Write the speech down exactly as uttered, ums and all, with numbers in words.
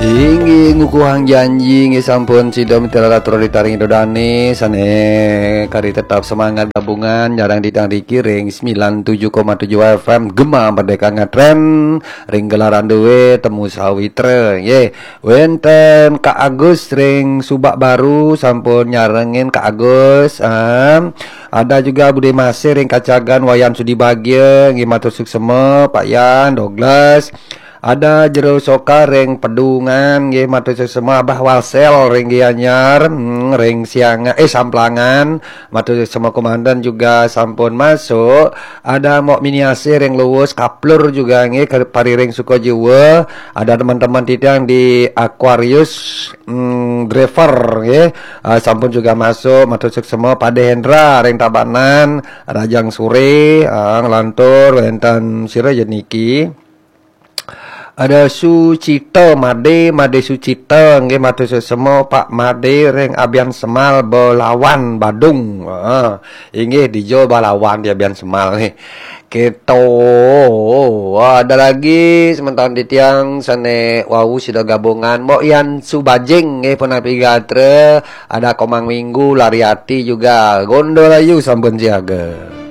Inggih ngukuhang janji, inggih sampun sida mitra ratu ritaring Ida Dane sane kari tetap semangat gabungan nyarang titiang riki ring sembilan tujuh koma tujuh F M Gema Merdeka Ngetren ring gelaran duwe Temu Sawitra, nggih. Wenten Kak Agus ring Subak Baru sampun nyarengin Kak Agus. Em, ada juga Bude Masih ring Kacagan, Wayan Sudi Bagia, nggih matur suksema, Pak Yan, Douglas. Ada Jero Soka ring Pedungan, nggih matur suksema, Abah Walsel ring Gianyar, hmm, ring Siangan, eh, Samplangan, matur suksema komandan juga sampun masuk. Ada Mok Miniasih ring Luwus, Kaplur juga nggih, ke pariring Sukajiwa. Ada teman-teman titiang di Aquarius, hmm, Driver nggih. Ah, sampun juga masuk, matur suksema, Pak De Hendra ring Tabanan, Rajang Sore, ah, nglantur wenten sira ya niki. Ada Sucita Made, Made Sucita nggih, matur suksema, Pak Made ring Abian Semal Belawan Badung. Ah, inggih dija Belawan di Abian Semal nggih. Keto. Wah, ada lagi semeton titiang sane wau sida gabungan. Mok Yan Subajing nggih, punapi gatra, ada Komang Minggu, Lariati juga. Gondolayu sampun siaga.